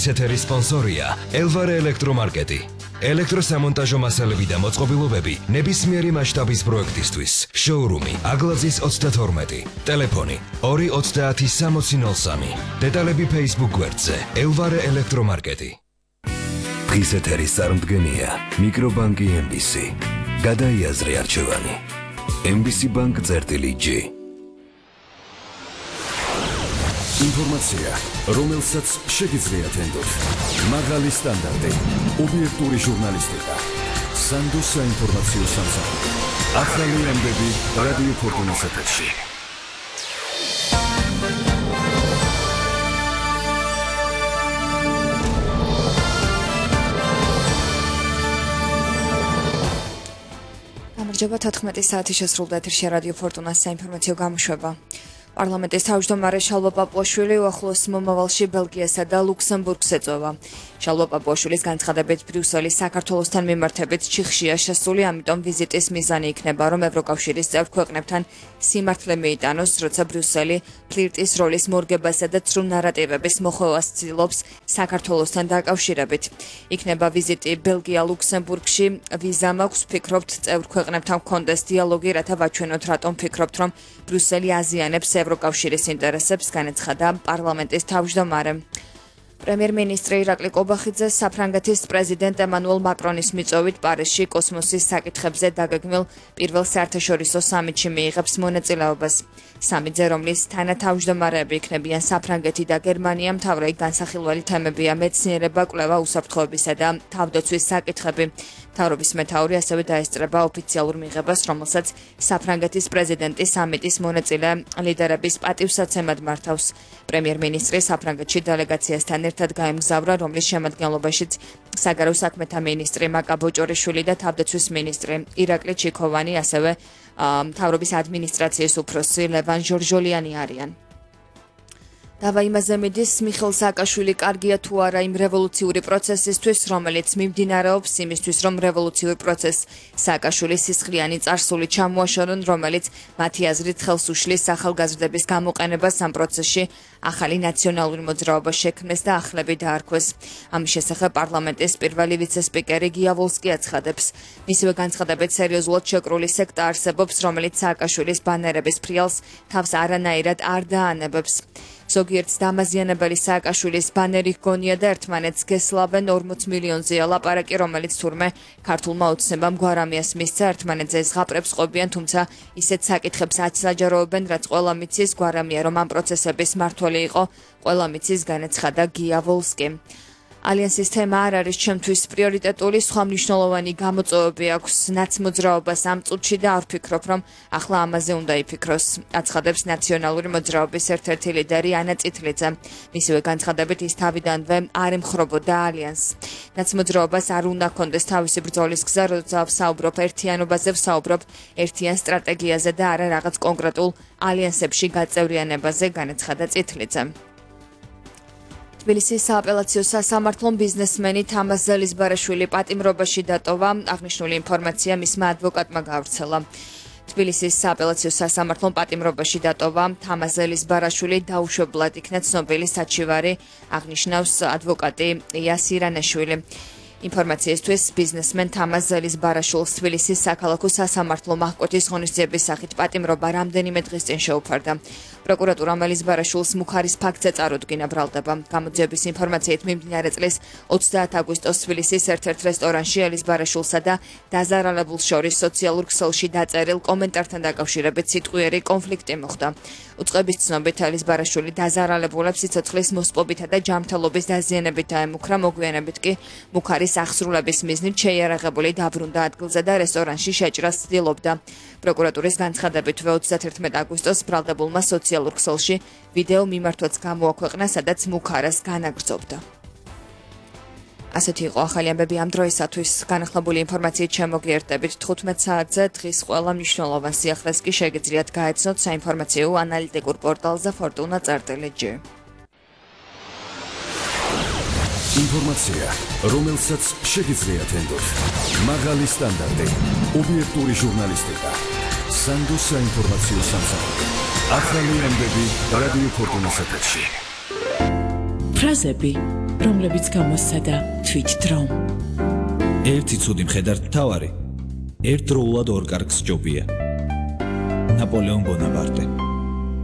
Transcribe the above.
დღის ეთერის სპონსორია ელვარე ელექტრომარკეტი. ელექტროსამონტაჟო მასალები და მოწყობილობები ნებისმიერი მასშტაბის პროექტისთვის. შოურუმი აგლაძის 32. ტელეფონი 2306003. დეტალები Facebook გვერდზე ელვარე ელექტრომარკეტი. დღის ეთერის წარმდგენია მიკრობანკი MBC. გადაიაზრე არჩევანი. MBC Bank წერტილი-G. ინფორმაცია, რომელსაც შეგიძლიათ ენდოთ. მაღალი სტანდარტი, ობიექტური ჟურნალისტიკა. სანდო საინფორმაციო სამსახური. ახალი ამბები რადიო ფორტუნას ეთერში. გამარჯობა 14 საათი შესრულდა ეთერში რადიო ფორტუნას საინფორმაციო გამოშვება. პარლამენტის თავმჯდომარე შალვა პაპუაშვილი უახლოეს მომავალში ბელგიასა და ლუქსემბურგს ეწევა. შალვა პაპუაშვილის განცხადებით ბრიუსელის საქართველოსთან მიმართებით ჩიხშია შესული, ამიტომ ვიზიტის მიზანი იქნება, რომ ევროკავშირის წევრ ქვეყნებთან სიმართლე მიიტანოს, როცა ბრიუსელი ფლირტის როლის მორგებასა და ცრუ ნარატივების მოხვევას ცდილობს საქართველოსთან დაკავშირებით. იქნება ვიზიტი ბელგია-ლუქსემბურგში, ვიზა მაქვს, ვფიქრობთ, წევრ ქვეყნებთან გქონდეს დიალოგი, რათა ვაჩვენოთ, რატომ ვფიქრობთ, რომ ბრიუსელი აზიანებს ევროკავშირის ინტერესებს, განაცხადა პარლამენტის თავმჯდომარემ. პრემიერ-მინისტრი ირაკლი კობახიძე საფრანგეთის პრეზიდენტ ემანუელ მაკრონის მიწვევით პარიზში კოსმოსის საკითხებზე დაგეგმილ პირველ საერთაშორისო სამიტში მიიღებს მონაწილეობას. სამიტზე, რომლის თანათავმჯდომარეები იქნებიან საფრანგეთი და გერმანია, მთავარი განსახილველი თემებია მეცნიერება, კვლევა, უსაფრთხოებისა და თავდაცვის საკითხები. მთავრობის მეთაური ასევე დაესწრება ოფიციალურ მიღებას, რომელსაც საფრანგეთის პრეზიდენტი სამიტის მონაწილე ლიდერების პატივსაცემად მართავს. პრემიერ-მინისტრი საფრანგეთში დელეგაციასთან ერთად გაემგზავრა, რომლის შემადგენლობაშიც საგარეო საქმეთა მინისტრი მაკა ბოჭორიშვილი და თავდაცვის მინისტრი ირაკლი ჩიქოვანი, ასევე მთავრობის ადმინისტრაციის უფროსი ლევან ჟორჟოლიანი არიან. დავა იმაზე მიდის, მიხეილ სააკაშვილი კარგია თუ არა იმ რევოლუციური პროცესისთვის, რომელიც მიმდინარეობს, იმისთვის, რომ რევოლუციურ პროცესს სააკაშვილის სისხლიანი წარსული ჩამოაშორონ, რომელიც მათი აზრით ხელს უშლის ახალგაზრდების გამოყენებას ამ პროცესში ახალი ნაციონალური მოძრაობა შექმნეს და ახლები დაარქვეს. ამის შესახებ პარლამენტის პირველი ვიცე-სპიკერი გია ვოლსკი აცხადებს. მისივე განცხადებით სერიოზულად შეკრული სექტა არსებობს, რომელიც სააკაშვილის ბანერების ფრიალს თავს არანაირად არ დაანებებს. ზოგიერთს დამაზიანებელი სააკაშვილის ბანერი ჰგონია და ერთმანეთს გესლავენ 40 მილიონზეა ლაპარაკი, რომელიც თურმე ქართულმა ოცნებამ გვარამიას მისცა, ერთმანეთზე ზღაპრებს ყოფიან, თუმცა ისეთ საკითხებს აჩსაჯაროებენ, რაც ყველა მიცის, გვარამია რომ ამ პროცესების მართველი იყო, ყველა მიცის, განაცხადა გია ვოლსკი. ალიანსის თემა არ არის ჩემთვის პრიორიტეტული, სხვა მნიშვნელოვანი გამოწვევები აქვს ნაცმოძრაობას ამ წუთში და არ ვფიქრობ, რომ ახლა ამაზე უნდა იფიქროს, აცხადებს ნაციონალური მოძრაობის ერთ-ერთი ლიდერი ანა წითლიძე. მისივე განცხადებით ის თავიდანვე არ ემხრობოდა ალიანსს. ნაცმოძრაობას არ უნდა ჰქონდეს თავისი ბრძოლის გზა, როცა ვსაუბრობ ერთიანობაზე, ვსაუბრობ ერთიან სტრატეგიაზე და არა რაღაც კონკრეტულ ალიანსებში გაწევრიანებაზე, განაცხადა წითლიძე. თბილისის სააპელაციო სასამართლომ ბიზნესმენი თამაზ ზელისბარაშვილი პატიმრობაში დატოვა, აღნიშნული ინფორმაცია მისმა ადვოკატმა გავრცელა. თბილისის სააპელაციო სასამართლომ პატიმრობაში დატოვა თამაზ ზელისბარაშვილი დაუშვებლად იქნა ცნობილი საჩივარი, აღნიშნავს ადვოკატი იასირანაშვილი. ინფორმაციისთვის ბიზნესმენ თამაზ ზელისბარაშვილს თბილისის საქალაქო სასამართლო მაჰკოტის ღონისძიების სახით პატიმრობა რამდენიმე დღის წინ შეუფარდა. პროკურატურამ ზელისბარაშვილს მუხარის ფაქტზე წარუდგინა ბრალდება. გამოძიების ინფორმაციით მიმდინარე წლის 30 აგვისტოს თბილისის ერთ-ერთ რესტორანში ზელისბარაშვილსა და დაზარალებულს შორის სოციალურ ქსელში დაწერილ კომენტართან დაკავშირებით სიტყვიერი კონფლიქტი მოხდა. უწყების ცნობით ზელისბარაშვილი დაზარალებულებს სიცოცხლის მოსპობითა და ჯანმრთელობის დაზიანებით დაემუქრა, მოგვიანებით კი მუხარის აღსრულების მიზნით შეიარაღებული დაბრუნდა ადგილზე და რესტორანში შეჭრას ცდილობდა. პროკურატურის განცხადებით 31 აგვისტოს ბრალდებულმა სოციალურ ქსელში ვიდეო მიმართვაც გამოაქვეყნა, სადაც მუხარას განაგრძობდა. ასეთი იყო ახალი ამბები ამ დროისათვის. განახლებული ინფორმაციით შემოგიერთდებით 15 საათზე. დღის ყველა მნიშვნელოვან სიახლეს კი შეგიძლიათ გაეცნოთ საინფორმაციო ანალიტიკურ პორტალზე fortuna.gr. ინფორმაცია, რომელსაც შეგიძლიათ ენდოთ. მაღალი სტანდარტი, ობიექტური ჟურნალისტიკა. სანდო საინფორმაციო სამსახური. ახალი ამბები რადიო ფორტუნას ეთერში. ფრაზები რომლებიც გამოსცადა თვითდრომ. ერთი ცუდი მხედართ მთავარი ერთდროულად ორ კარგს ჯობია. ნაპოლეონ ბონაპარტე